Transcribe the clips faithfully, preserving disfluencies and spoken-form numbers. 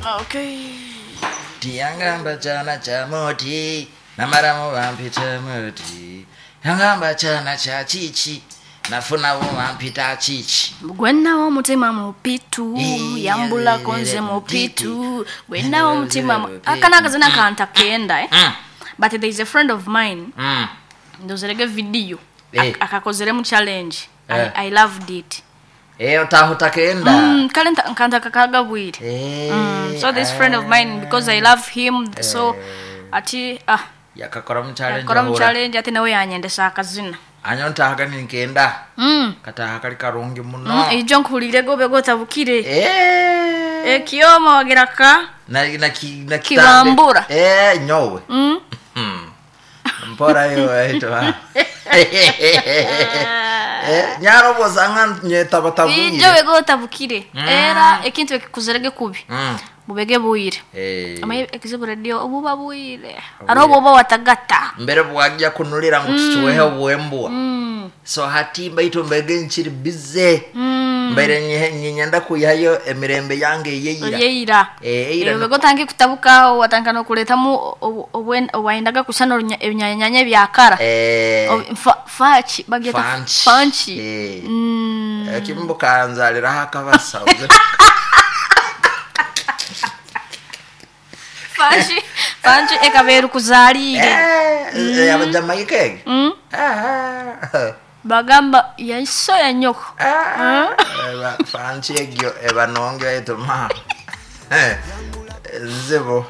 Okay. Tiyangamba chana cha moti namaramu vampita moti yangamba chana cha chichi nafunavo vampita chichi. Gwenawo omutima mupitu Eh, yambulako nze eh, mupitu eh, gwenawo eh, omutima mu- eh, aka nakazina kantakenda eh? Mm, But there is a friend of mine mm. ndozerege video Eh. Ak- akakozeremu challenge. Eh. I, I loved it. Eh, otaho takenda. Mm, kale nta- nkantaka kagabwire. Eh, Mm, so this friend of mine, because I love him, so ati ah yakakora mu challenge. yakora mu ahura. challenge ati nawe yanyendesa akazina. Anyo ntahaga ninkenda. Mm. Kataha kali karungi muno. Mm, ijo nkuhulire gobe gotabukire. Eh. Ekioma wagira ka na na ki, na kitambe. Kibambura. Eh, nyowe. Mm. Hmm. Mpora yo aitwa. Eh, nyaroboza nka nyetabatabwire. Ijo bego otabukire era ekintu ekikuzerege kubi Mm. bubege bwire. Eh. Amaye ekizibu radio obuba bwire ari obuba watagata. Mbere bwajja kunulira ngu tukiwehe obwembwa. Mm. So hati mbaitu mbege nkiri bize. Mm. Mbere nyihe- nyinyenda kuyihayo emirembe yange eyeyira. Oyeira. Eh, eyira. Bego otange kutabukaho watanga nokuretamu obwayendaga kusana ebinyanyanya byakara. Eh. Ob- fa- fachi bagyeta Fanchi. fanchi. Eh. Mm. Ekimbukanzaliraho akabasa. Fanchi fanchi ekabeera kuzaliire. Eh, abajamaika ege. Mm. Ah. Bagamba yaiso ya nyoko. Ah, eba- fanchi egyo ebanonge etuma. Eh, nzibu.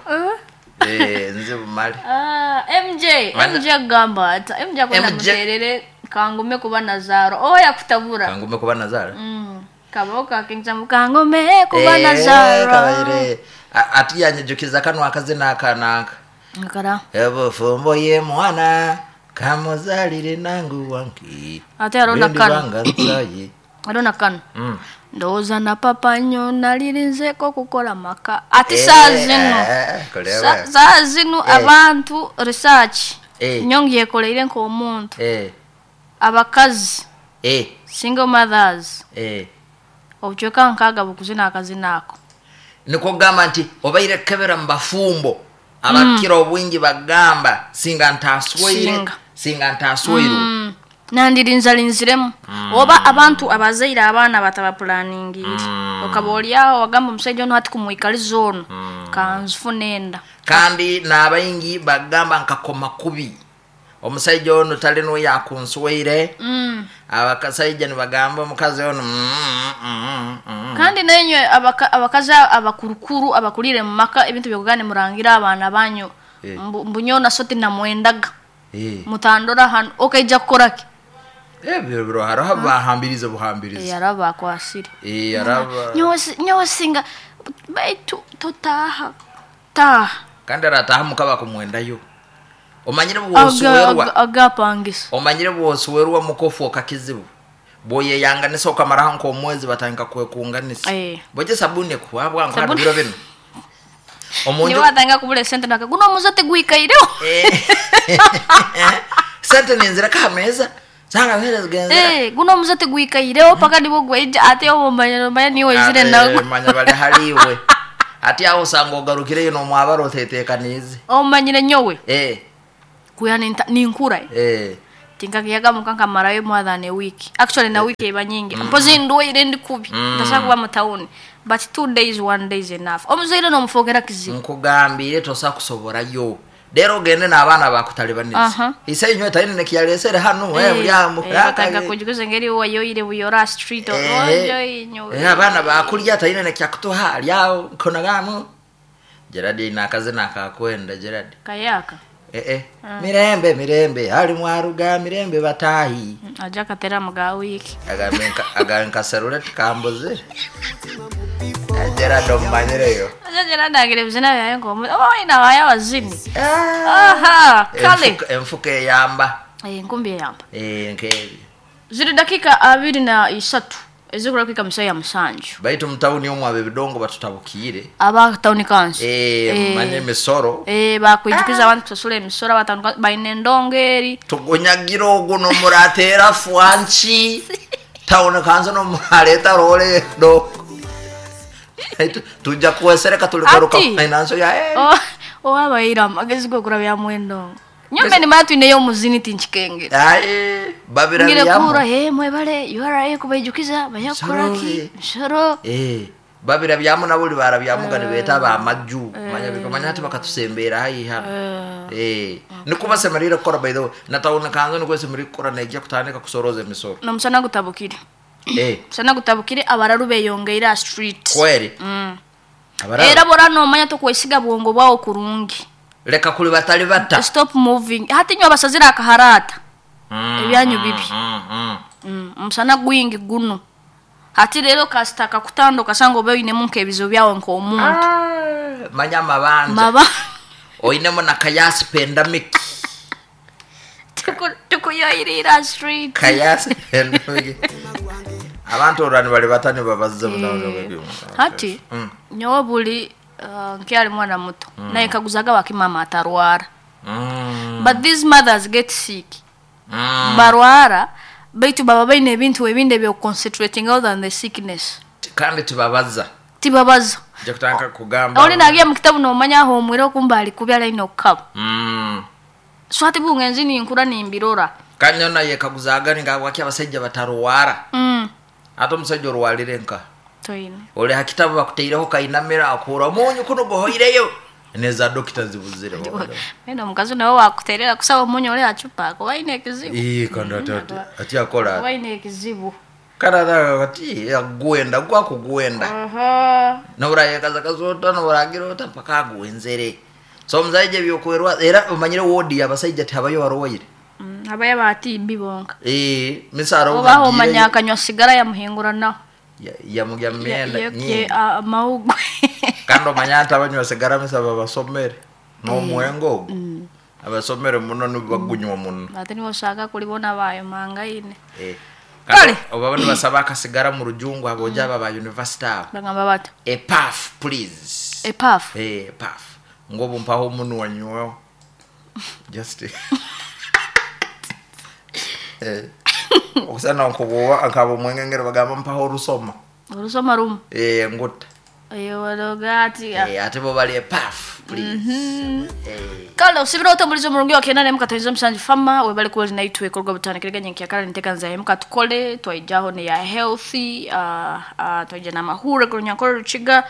Eh, nzibu mali. Ah, M J. Mana- M J agamba ata M J akwenda M J. muterere kangume kuba nazaro oya kutabura. Kangume kuba nazara. Mm. Kaboka kingzamu kangume kuba Eh, nazaro. kabaire. A- ati yanyijukiza kano akazina aka naka. Ngakara. Ebufumbo ye mwana kamuzalire nangu wanki. Ate arona Bindi kano. banga nsayi. Arona kano. Mm. Ndowooza na papa nnyo nalirinzeeko okukola maka ate Eh, saa zino eh, kolewe. Sa- saa zino Eh. abantu research Eh. nnyo ngyekoleire nk'omuntu Eh, abakazi eh, single mothers eh. obucweka nkaaga bukuzina akazina ako. Nikwo kugamba nti obaire kebera mu bafumbo abakira obwingi bagamba singa ntasweire. Singa. Singa ntasweirwe. Mm. Nandirinzalinziremu oba abantu abazaire abaana batabapulaningiire, okaba oliaho wagamba omusajja ono hati kumwikaliza ono kanzifuna enda. Kandi n'abaingi bagamba nkakoma kubi omusajja ono tali nuwe yakunsweire. Mm. Abakasaija nibagamba omukazi ono mm, mm, mm, mm. Kandi nenywe abaka- abakazi abakurukuru abakulire mu maka ebintu byokugane murangira abaana banyu. Eh. Mbu- mbunyona so tinamwendaga. Eh, Mutandora hano okaija kukoraki? Ebyo biro hariho bahambiriza buhambiriza. Yaraba akwasire. Eh, araba. Nyowe singa baitu totaha taha. Kandi arataha mukaba kumwendayo omanyire Aga- bwosuwerwa. aga- agapangisa. Omanyire bwosuwerwa mukofuoka kizibu bwoyeyanganisa okamaraho nk'omwezi batandika kwekunganisa. Eh. Boje sabuni ekuhabwa Sabuni. nkabiro bino omunju. Niwe watanga kubula esente naka guno omuze tegwikaireho. Eh. Sente nenzireka hameza sanga zere zigenzera. Eh, guno omuze tegwikaireho paka nibo gweija ate obomanya omanya niwe oizire nago. Manya bali haliwe ati aho usanga ogarukireyo nomwabara otetekaniize. Omanyire nyowe Eh, kuya ninta- ninkura eh. tinkagiyaga muka nkamarayo more than a week, actually na week eba nyingi mpozi ndwaire ndi kubi ntasobola kuba mu town, but two days, one day is enough. Omuzaire nomufokera kizibu. Nkugambire tosa kusoborayo rero ogende n'abaana bakutalibaniza. Aha. Ise inywe taine nekiyalesere hano eh, buli amu. Batanga kujuguza engeri wayoire buyora street ojo inyo. Eh, abaana bakulya taine nekyakutuha alyawo nkonagamu. Gerard ina akazina akakwenda Gerard. Kayaka. Eh, eh. Mirembe mirembe ali mwaruga mirembe batahi. Aja katera muga wiki. Agambe nka- agambe nkaserule tikambuze. Eh, Gerard omumanyireyo. Aja Gerard agire bizina byaye ngo oh ina waya wazini aha kale. Enfuka- enfuka eyamba. Eh, enkumbi eyamba. Eh, nkebi. Ziri dakika abiri na isatu ezikura kwika musayi ya musanju. Baitu mutawuni omwe abo ebidongo batutabukiire. Aba town council. Eh, manye emisoro. Eh, bakwijukiza abantu kusasula emisoro aba town council baine endongo eri. Tugunyagira ogwo nomurateera fwanki tawuni kanso nomuraleeta role do. Tujja kuwesereka tuligaruka Ati. financial ya eh. Oh, owabaire amagezi gokurabya mwendongo nyombe nimara twineyo omuzini tinkikengera Aye, babira ngire byamu. kuhura he mwebale U R A kubaijukiza bayakukoraki Misoro, eh. misoro. Eh, babira byamu nabo libara byamu nga nibeeta bamajju manya bikamanya ati bakatusembeera haihi hano. Eh, niko basemerire kukora. By the way, natawuni kanzo niko esemerire kukora, nejja kutandika kusoroza emisoro. Nomusana gutabukire. Eh, Musana gutabukire, abararu beyongeire aha street. Kweri. Mm. Abarara Era bora nomanya tokwesiga bwongo bwawo kurungi. Leka kuli batali bata. Stop moving. Hati nyo abasazire akaharata Mm, ebyanyu mm, bibi. mm, mm. Mm, omusana gwingi guno hati rero kasita kakutanda okasanga oba oinemu nk'ebizibu byawe nk'omuntu. Ah, manya amabanja. Maba Oinemu na kayasi pandemic. Tuku- tukuyoyirira street. Kayasi pandemic, abantu olwani bali bata nibabazze. Eh, hati Mm. nyowe buli uh, nkyali mwana muto naye kaguzaga wakimama atarwara, Mm. but these mothers get sick. Mm. Barwara baitu baba baine ebintu ebindi ebyokuconcentrating other than the sickness. Kandi tibabaza. Tibabaza. Nja kutandika kugamba. Oli nagiya mu kitabu nomanya ahomwire okumba ali kubi alaine okukaba. Mm. So hati bungenzi ninkura nimbirora. Kanyona yekaguzaga ninga waki abasajja batarwara. mm. Ate omusajja orwalire nka Toine. oli hakitabu bakuteireho kainamira akura omunyu kuno guhoireyo neza dokita zibuzire. Mena omukazi nawe wakuterera kusaba omunyu oli acupa akuba aine ekizibu. Ii, kandi ati- ati- ati akola Akuba aine ekizibu. kandi ati ati agwenda gwakugwenda. Aha. Noburayekaza kazota noburagira ota mpaka agwenzere. So omusaija ebyokwerwa era omanyire wodi abasaija tihabayo barwaire. Mm, habayo abatimbi bonka. Eh, misaro. Obaho omanya akanywa sigara yamuhinguranaho. Yamugya myenda Ye- nyingi. ye- amawugwe. Kandi omanya nti abanywa sigara misaba basomere n'omwengo ogwo abasomere muno nibagunywa muno. Ate nibo oshaka kulibona bayomangaine. Eh, Kale. kandi oba nibasaba akasigara mu rujungu aboja aba ba university abo. Bagamba bata? A puff, please. Epafu. Eh, puff ngobu mpaho omunwa nyweho just eh okusana nkubuwa nkaba omwenge ngero bagamba mpaho orusoma. Olusoma rumu. Eh, nguta. Eyo ati. Eh, ate bo bali a puff, please. Eh. Kale osibira otambuliza omurungi wa kenda nemu katoiza musanju fama webale kuba naitwe ekorwa butandikirega nyenkyakara nitekanza yemu katukole twaijaho ne ya healthy, uh, uh, twaija n'amahure kurunyankore rukiga,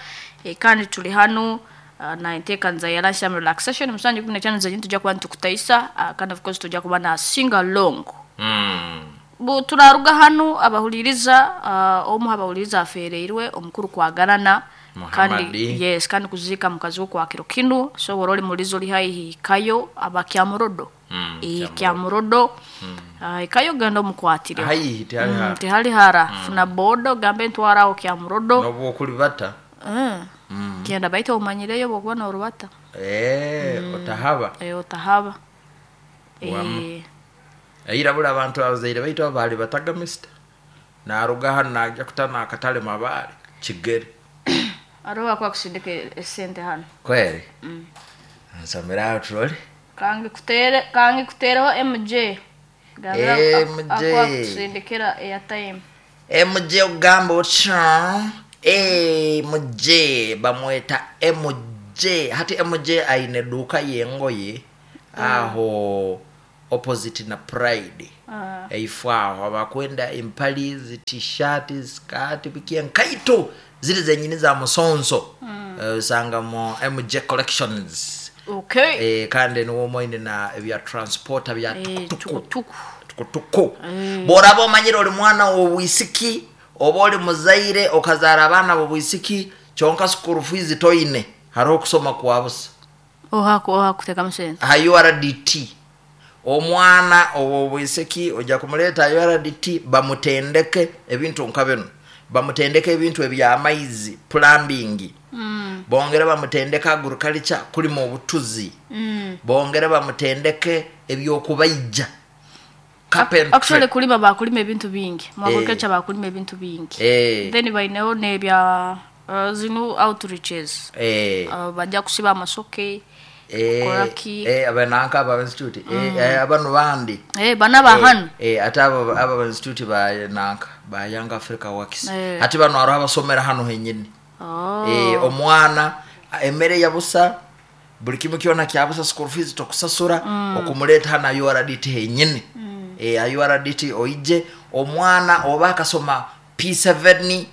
eh, kandi tuli hanu uh, na entekanza ya lunchtime relaxation musanju kumi na etaano zanyu tujja kuba nitukutaisa, uh, kandi of course tujja kuba na sing along. Mm. Bu turaruga hanu abahuliriza, uh, omu abahuliriza afereirwe omukuru kwagarana kandi Muhammadi. yes, kandi kuzika mukazi wo kwa kiro kinu. So bora oli mulizo oli haihi ikayo aba Kyamurodo. Mm, e, Kyamurodo uh, ikayo genda omukwatire. Haihi tihali mm, hara. Tihali hara. Funa bodo gambe ntwaraho Kyamurodo. Nobu okulibata. mm. Genda baita omanyireyo bwokuba norubata. Eh, otahaba. E, otahaba. Wamu. e, Aira buli abantu abazaire baitu abaali batagamisita naruga hano najja kutana akatale mabaale kigere. Ariho bakuba kusindika esente hano. Kweri nsomera aho turole. Kange kutere kange kutereho M J. Gambira M J. akuba kusindikira airtime. M J ogamba otya? M J bamweta M J. Hati M J aine eduuka yengoye aho opposite na Pride. Ah. Eifo aho abakwenda empali zi T-shirt, skirt, biki enkaito ziri zenyini za musonso. Eh, osanga mu M J Collections. Okay. Eh, kandi niwo moine na ebya transporter bya Eh, tukutuku. tukutuku. Tukutuku bworaba omanyire oli mwana wobwisiki oba oli muzaire okazaara abaana bobwisiki kyonka school fees toine, hariho okusoma kwa busa. Oha oha kutekamu sente. Aha U R D T omwana owobwisiki ojja kumuleeta U R D T bamutendeke ebintu nka bino, bamutendeke ebintu ebyamaizi, plumbing, Mm. bongere bamutendeke agriculture, kulima obutuzi, Mm. bongere bamutendeke ebyokubaija, carpentry. Actually kulima bakulima ebintu bingi mu Eh. agriculture, bakulima ebintu bingi. Eh. Then baineho nebya uh, zino outreaches. Eh, uh, bajja kusiba amasoke. eh, kukoraki. eh, abananka aba institute, eh, eh, abano bandi. Eh, bana ba hano. Eh, ate abo aba institute ba nanka ba Young Africa Works. Eh. Ate bano hariho abasomera hano henyini. Oh. Eh, omwana emmere yabusa, buli kimu kyona kyabusa, school fees tokusasura, okumuleeta hano U R D T henyini. Eh, U R D T oije omwana oba akasoma P seven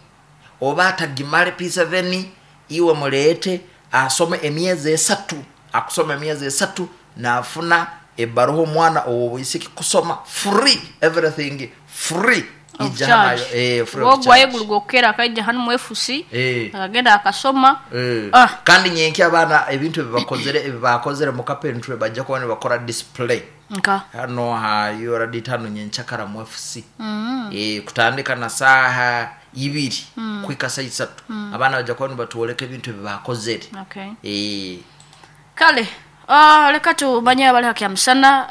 oba atagimale P seven, iwe muleete asome emyezi esatu. Akusoma emyezi esatu nafuna ebbaruha, omwana owobwisiki kusoma free, everything free. Of Ija hano. charge. Eh, free of Ogwayo charge. guli gwokera akaija hano mu F C, Eh. akagenda akasoma. Eh. Ah. Kandi nyenki abaana ebintu ebibakozere ebibakozere mu carpentry bajja kuba nibakora display Nka hano ha U R D hano nyenchakara mu F C. mm. E, kutandika na saha ibiri mm. kwika saa isatu, mm. abaana bajja kuba nibatwoleka ebintu ebibakozere. Okay. e, Kale, uh, leka tumanye abali hakyamusana.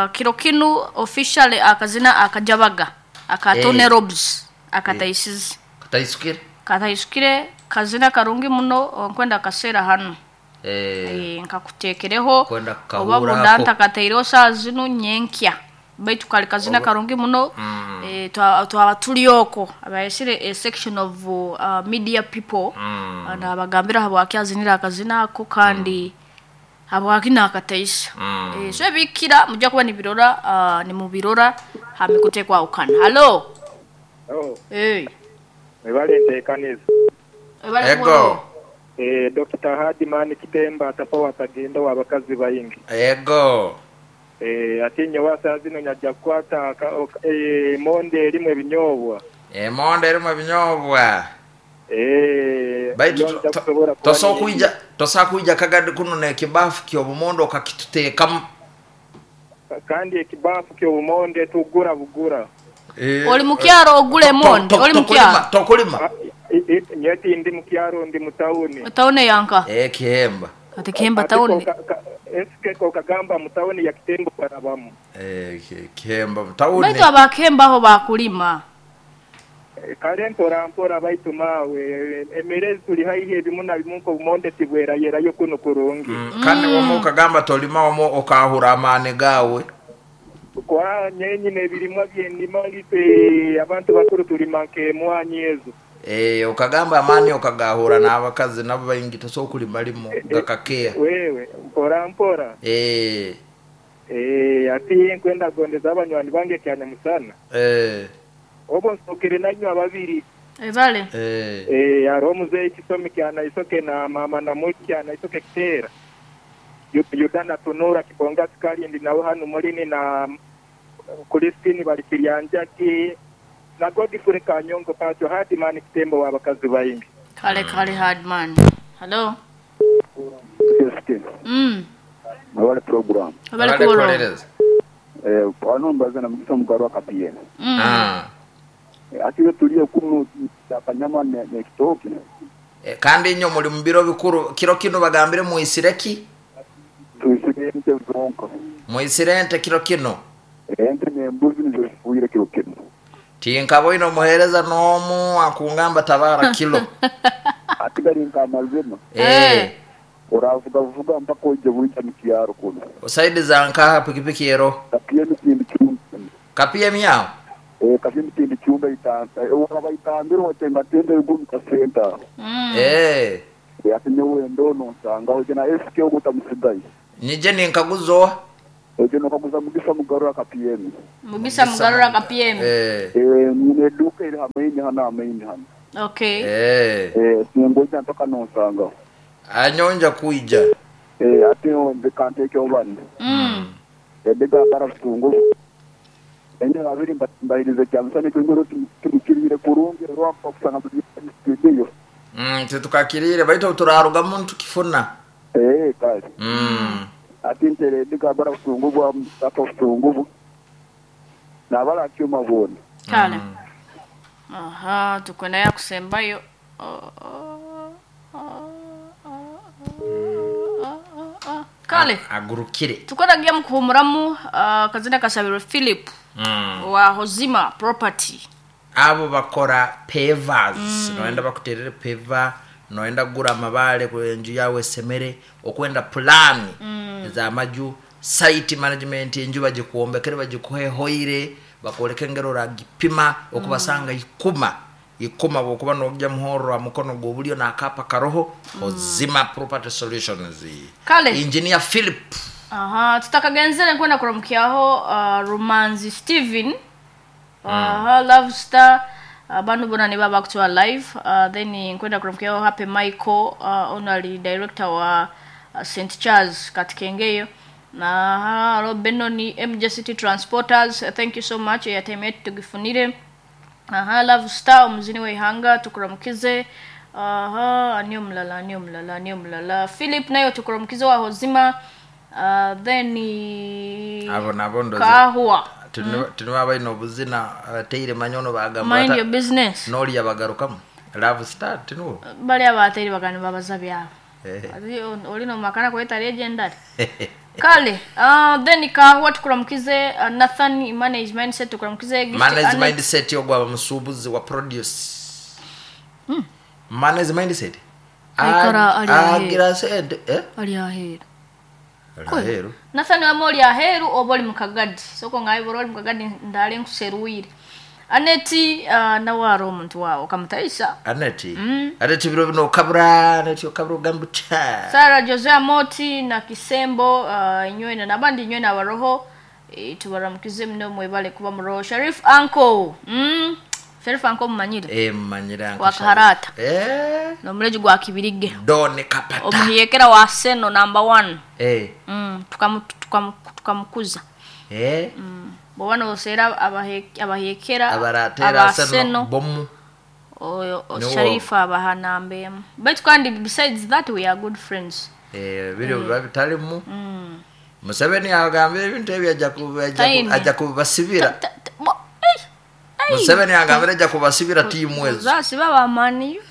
uh, kiro kinu officially akazina akajabaga aka Eh. Tony Robs akataisize. Kataisukire. Kataisukire, kazina karungi muno, nkwenda akaseera hano. e, Eh, nkakuteekereho Kwenda oba kukahurako. bunda ntakataireho saa zinu nyenkya, baitu kali kazina Oba- karungi muno. Mm. Eh, twa- twaba tuli oko abayesire a section of uh, media people, Mm. uh, nabagambira habwaki azinira akazina ako kandi habwaki nakataisa. Mm. Eh, so ebikira mujja kuba nibirora, uh, nimubirora hamikutekwawukana. Halo. Oh, Hey. webale nteekaniza. Ebale. Ego. Eh, Doctor Hadiman Kitemba atapawa atagenda wabakazi bayingi. Ego. Eh, ate nyowe saa zino nyajja kukwata aka- ok- eh, monde erimu ebinyobwa. Emonde erimu ebinyobwa. Eh, Baitu nyo nja kusobola kuba tosobola ni- kwija, tosobola kwija kagadi kuno nekibafu kyobumondo okakituteekamu. Kandi ekibafu ky'obumonde tugura bugura. Eh, Oli mukyaro ogula emonde? to- Oli to- mukyaro? Tokulima? Ah, i- i- nyowe tindi mukyaro, ndi mu tawuni. Tawuni yanka? Eh, kihemba. Ati kihemba Ate tawuni. koka- ka- esike kokagamba mu tawuni ya Kitembo barabamu. Eh, ki- kihemba tawuni. Baitu abakemba aho bakulima. Eh, kale mpora mpora, baitu maawe emere tuli haihi ebimu na bimu nk'obumonde tibwerayerayo kuno kurungi. Mm, kandi wama okagamba tolima, wama okahura amaani gawe. Kwa nyenyine ebirimwa byendima life abantu bakuru tulima nk'emwanyi ezo. Eh, okagamba amaani okagahura n'abakazi nabo baingi tosobola kulima limo gakakeya. Wewe mpora mpora. Eh, Eh, ati nkwenda gondeza abanywani bange kyane musana eh, obo nsokere nanywa babiri. Ebale. eh. Eh, hariho omuzeeyi Kisomi kyanaisoke na mama Namuli kyanaisoke Kiteera. Yu- Yuda Tunura Kibonga Sikalindi nawe hano mulini na Kulistini bali Kiryanjaki na Godfrey Kanyongo Pacho Hadimani Kitembo w'abakazi bayingi. Kale kale, Hardman. Hello. Mm. Mwebale program. Ebale kulo. Kukolereza. Eh, wano mbaza na Mugisa Mugarwa Kapiyene. Mm. Ah. Eh, atiwe tuliye kuno akanyama ne ne kitoki. Eh, kandi inyo muli mu biro bikuru kiro kino, bagambire muisireki. Tuisire ente zonka. Muisire ente kiro kino. Eh, ente n'embuzi nizo zifuire kiro kino. Tinkaboine omuheereza n'omu akungamba tabara kilo. Ati gari nka amazima. Eh, Oravuga vuga mpaka uje bwija mu kyaro kuno. Osaidi za nkaha pikipiki ero? Kapiye mitindi chumba. Kapiye myao. Eh, kapiye mitindi chumba itanta. Eh, uraba itambiro watenga tende yugu kasenta. Mm. Eh, Eh, ati nyewe ndono nsanga uje na S K ogutamusigaye. Nije ninkaguzoa. Uje nokaguza Mugisa Mugarura Kapiyemi. Mugisa Mugarura ka P M. Eh, Eh, mwine duka iri hamaini hano hamaini hano. Okay. eh, Eh, singoja mpaka nonsanga. Anyonja kuija. Eh, ate nze kanteeke bane. Mm. Edega bara butungu. Enye babiri mbahirize kyamusana ekingoro tumukirire kurungi rwapa kusanga buli studio. Mm, tetukakirire baitu turarugamu ntukifuna. Eh, kale. Mm. Ate ntere edega bara butungu bwa apa butungu. Nabala kyuma bona. Kale. Aha, tukwenda ya kusembayo. Oh, oh, oh, oh, oh, oh, oh. Kale. Agurukire. Tukwenda mukuhumuramu, uh, kazina kasabiro Philip Mm. wa Hozima Property. Abo bakora pavers, mm. noenda bakuterere paver, noenda gura amabale ku enju yawe esemere, okwenda pulani mm. ezamaju, site management, enju bagikuwombekere, bagikuhe hoire, bakwoleka engero oragipima okubasanga ikuma. Ikoma bwokuba nojja muhoro mukono gw'obulyo n'akapa karoho Hozima Property Solutions. Kale. Engineer Philip. Aha, tutakagenzere nkwenda kuramukyaho uh, Rumanzi Steven. Aha, Love Star abantu bona niba bakutuwa live. Uh, then nkwenda kuramukyaho Happy Michael, uh, honorary director wa uh, Saint Charles Katikengeyo. Aha, Robenoni M J City Transporters, uh, thank you so much airtime yetu tugifunire. Aha, Love Star omuzini w'eihanga tukuramukize. Aha, ani omulala, ani omulala, ani omulala. Philip nayo tukuramukize wa Hozima. Uh, then Abo nabo ndoza Kahwa. tuniba balina obuzina abateire manyono bagamba Mind bata- your business. n'oli bagarukamu Love Star tinuwo. Bali abateire bagani babaza byabo. Eh. Ati oli nomakana kweta legendary. Kale, uh, then Kahwa tukuramukize, uh, Nathan manage mindset tukuramukize. Gift Manage Annet. mindset yogwaba musuubuzi wa produce. Manage mindset. Aikara ali aheeru. Agira sente eh? Ali aheeru. Ali aheeru. Nathan wama oli aheeru oba oli mukagadi. Soko ngaibora oli mukagadi ndale nkuseruire. Aneti uh, nawe ari omuntu waawe okamutaisa. Aneti. Aneti biro bino okabura, Aneti okabura ogamba otya. Sarah Josea Moti na Kisembo uh, inywena nabandi inywena abaroho e, tubaramukize muno mwebale kuba muroho. Sharif Uncle. Mm. Sharif Uncle mumanyire. Eh, mmanyira Wa Kaharata. Eh. Nomuleji gwa Kibirige. Don Kapata. Omuhiyekera wa Seno number one. Eh. Mm, tukamu tukamu tukamukuza. Eh. Mm. Bwoba noseera abahe- abahiyekera Abaratera aba Seno bomu. oyo o- Niwo. Sharifa abaha namba emu. Baitu kandi besides that we are good friends. Eh, biro biba bitalimu. Museveni agambire ebintu ebyo ajja ku- ajja ku- Taine. ajja kubasibira. Ta- ta- bo- ei, ei. Museveni agambire ajja kubasibira tiimu ezo. Zaasiba bamaniyo.